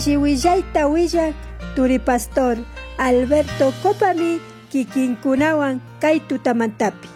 Alli huillaj turi pastor Alberto Copami kikinkunawan kay tutamantapi.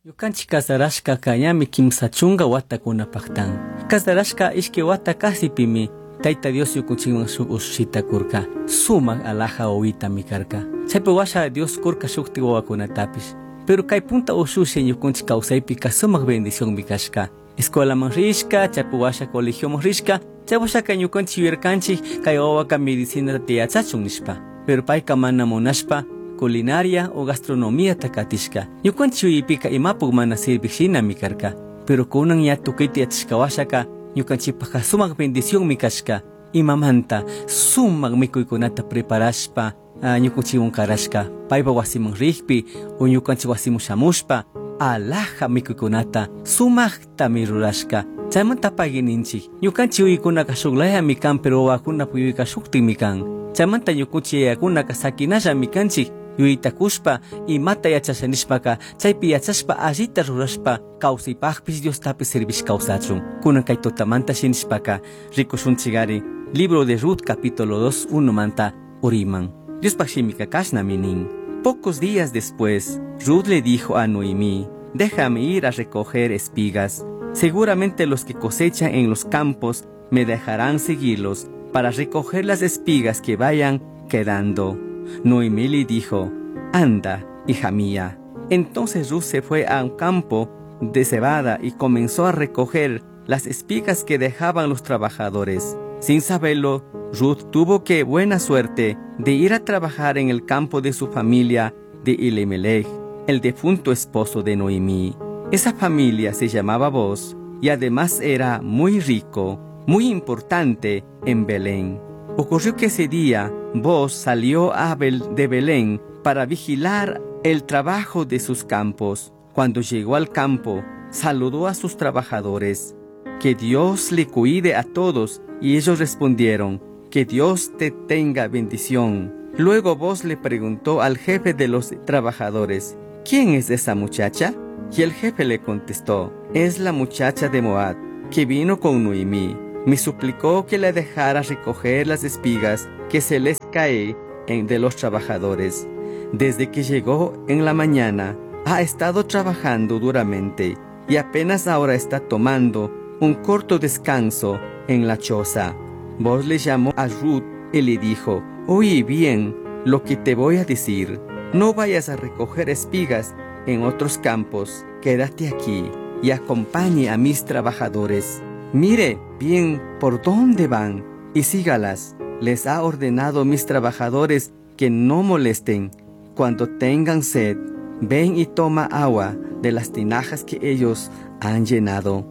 Ñukanchik kasarashkaka ñami kimsa chunka watakunapaktan. Kasarashka ishki wata kasipimi Tayta Dios ñukunchikman shuk ushita kurka. Sumak alaja wawitami karka. Chaypi washa Dios kurka shukti wawakunatapish. Pero kay punta ushushi ñukunchik kawsaypika sumak bendicionmi kashka. Escuelaman rishka, chaypi washa colegioman rishka, chay washaka ñukanchik yuyarkanchik kay wawaka medicinata yachachun nishpa. Pero payka mana munashpa culinaria o gastronomía katishka. Ñukanchik yuyaypika imapuk mana sirvik shinami karka. Pero kunan ña tukuyta yachashka washaka ñukanchikpaka sumak bendicionmi kashka. Imamanta sumak mikuykunata preparashpa ñukanchikwan karashka. Paypa wasiman rikpi o ñukanchik wasiman shamushpa alaja mikuykunata sumaktami rurashka. Chaymanta pagui ninchik. Ñukanchik yuyaykunaka shuklayami kan, pero wawakunapa yuyayka shuktikmi kan. Chaymanta ñukanchik yayakunaka sakinallami kanchik. Yuyaytakushpa imata yachasha nishpaka chaypi yachashpa allita rurashpa kawsaypaqpis Diostapi servish kawsachun. Kunan kay tutamanta shinishpaka rikushunchikari libro de Ruth capítulo 2 1 manta uriman. Diospaq shimika kashnami nin. Pocos días después, Ruth le dijo a Noemí: Déjame ir a recoger espigas. Seguramente los que cosechan en los campos me dejarán seguirlos para recoger las espigas que vayan quedando. Noemí le dijo: Anda, hija mía. Entonces Ruth se fue a un campo de cebada y comenzó a recoger las espigas que dejaban los trabajadores. Sin saberlo, Ruth tuvo que buena suerte de ir a trabajar en el campo de su familia de Elimelech, el difunto esposo de Noemí. Esa familia se llamaba Boaz y además era muy rico, muy importante en Belén. Ocurrió que ese día Boaz salió a de Belén para vigilar el trabajo de sus campos. Cuando llegó al campo, saludó a sus trabajadores. Que Dios le cuide a todos. Y ellos respondieron: Que Dios te tenga bendición. Luego Boaz le preguntó al jefe de los trabajadores: ¿Quién es esa muchacha? Y el jefe le contestó: Es la muchacha de Moab, que vino con Noemí. Me suplicó que la dejara recoger las espigas que se les cae de los trabajadores. Desde que llegó en la mañana, ha estado trabajando duramente y apenas ahora está tomando un corto descanso en la choza. Boaz le llamó a Ruth y le dijo: Oye bien lo que te voy a decir. No vayas a recoger espigas en otros campos. Quédate aquí y acompañe a mis trabajadores. Mire bien por dónde van y sígalas. Les ha ordenado mis trabajadores que no molesten. Cuando tengan sed, ven y toma agua de las tinajas que ellos han llenado.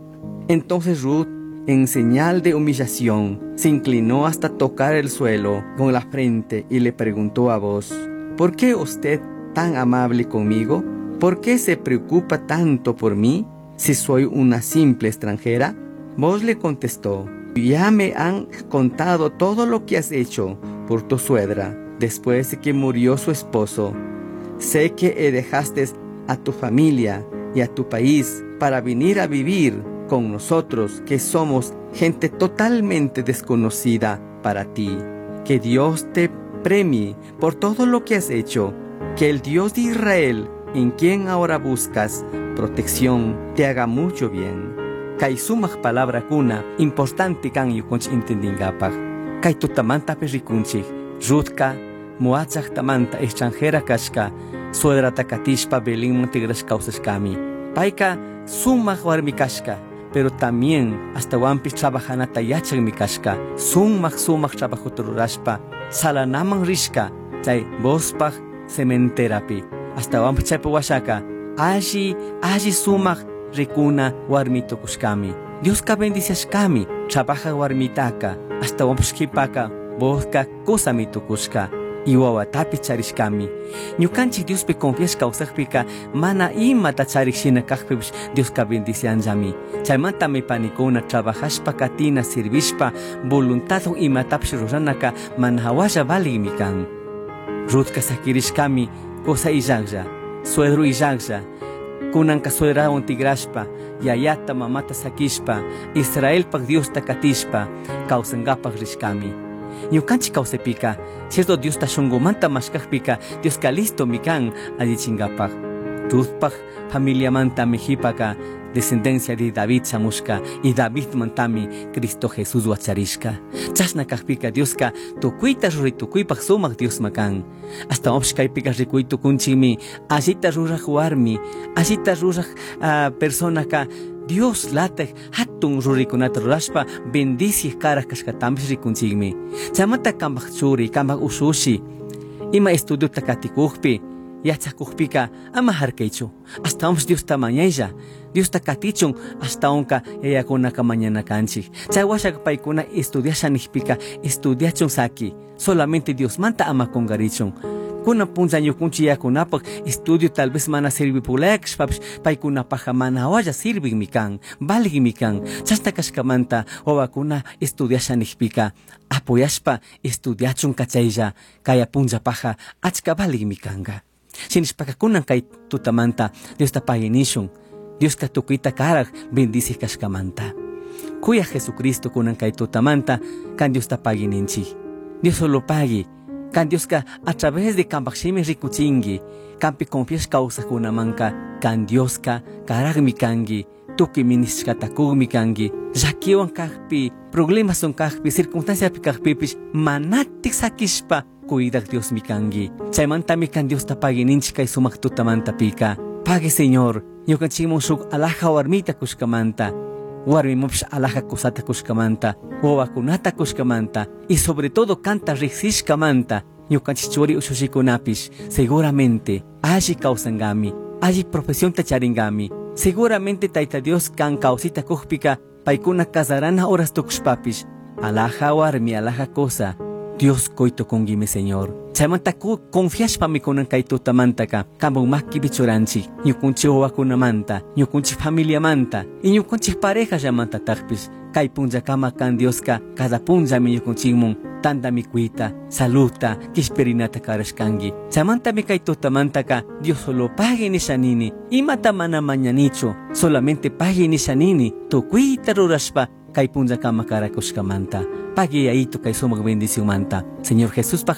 Entonces Ruth, en señal de humillación, se inclinó hasta tocar el suelo con la frente y le preguntó a Boaz: ¿Por qué usted tan amable conmigo? ¿Por qué se preocupa tanto por mí si soy una simple extranjera? Boaz le contestó: Ya me han contado todo lo que has hecho por tu suegra después de que murió su esposo. Sé que dejaste a tu familia y a tu país para venir a vivir con nosotros, que somos gente totalmente desconocida para ti. Que Dios te premie por todo lo que has hecho. Que el Dios de Israel, en quien ahora buscas protección, te haga mucho bien. Kay sumak palabrakuna importante kan ñukanchik entendingapak. Kay tutamantapi rikunchik. Ruthka Moab llaktamanta extranjera kashka, suegrata katishpa Belenman tigrashka kawsashkami. Payka sumak warmi kashka, pero también ashtawanpish trabajanata yachakmi kashka. Sumak sumak trabajota rurashpa salanaman rishka chay Boozpaj sementerapi. Ashtawanpish chaypi washaka alli alli sumak rikuna warmi tukushkami. Dioska bendiciashkami trabaja warmitaka. Ashtawanpish kipaka Boozka kusami tukushka y wawatapi charishkami. Ñukanchik Diospi confiashka kawsakpika mana imata charik shina kakpipish Dioska bendicianllami. Chaymantami panikuna trabajashpa katina sirvishpa voluntadwan imatapish ruranaka mana hawalla valigmi kan. Ruthka sakirishkami kusa illaklla, suegro illaklla, kunanka suegrawan tigrashpa yayata mamata sakishpa, Israelpak Diosta katishpa, kawsankapak rishkami. Ñukanchik kawsaypika, cierto Diosta shunkumanta mashkakpika, Dioska listomi kan allichinkapak. Ruthpak familiamantami jipaka descendencia de David shamushka y Davidmantami Cristo Jesús wacharishka. Chashna kakpika Dioska tukuyta ruray tukuypak sumak Diosma kan. Hasta kaypika rikuy tukunchikmi allita ruraj warmi, allita ruraj personaka Dios lataj hatun ruraykunata rurashpa bendiciq karaj kashkatapish rikunchikmi. Chaymanta kanpak churi, kanpak ushushi, ima estudiota katikukpi, yachakukpika ama harkaychu. Ashtawanpish Diosta mañaylla, Diosta katichun ashtawanka yayakunaka mañana kanchik. Chay washaka paykuna estudiasha nijpika estudiachun saki, solamente Diosmanta ama kunkarichun. Kunan punlla ñukunchik yayakunapak estudio tal vez mana sirvipulaya kashpapish paykunapajka mana hawalla sirvikmi kan, valikmi kan. Chashna kashkamanta wawakuna estudiasha nijpika apoyashpa estudiachun kachaylla, kaya punllapaja achka valikmi kanka. Shinashpaka kunan kay tutamanta Diosta pagui nishun, Dioska tukuyta karaj bendicij kashkamanta. Kuyaj Jesucristo kunan kay tutamanta kan Diosta pagui ninchik. Dios solo pagui. Kan Dioska a través de kanpak shimi rikuchinki, kanpi confiash kawsajkunamanka, kan Dioska karajmi kanki, tukuy minishkata kukmi kanki, llakiwan kakpi, problemaswan kakpi, circunstanciapi kakpipish manatik sakishpa cuidak Diosmi kanki. Chaymantami kan Diosta pagui ninchik kay sumak tutamantapika. Pagui Señor, ñukanchikman shuk alhaja warmita kushkamanta, warmimanpish alhaja kusata kushkamanta, wawakunata kushkamanta, y sobre todo kanta riksishkamanta, ñukanchik churi ushushikunapish seguramente alli kawsankami, alli profesionta charinkami. Seguramente Tayta Dios kan kawsayta kukpika paykuna casarana horas tukushpapish alhaja warmi, alhaja kusa, Dios kuy tukunkimi Señor. Chaymanta confiashpami kunan kay tutamantaka kanpak makipi churanchik, ñukunchik wawakunamanta, ñukunchik familiamanta, y ñukunchik parejallamantatakpish kay punllakama kan Dioska cada punllami ñukunchikmun tanta mikuyta, saludta, kishpirinata karashkanki. Chaymantami kay tutamantaka Dios solo pagui nisha nini, imata mana mañanichu, solamente pagui nisha nini, tukuyta rurashpa kay punllakama karakushkamanta. Pagui yayito kay sumak bendicionmanta. Señor Jesuspa.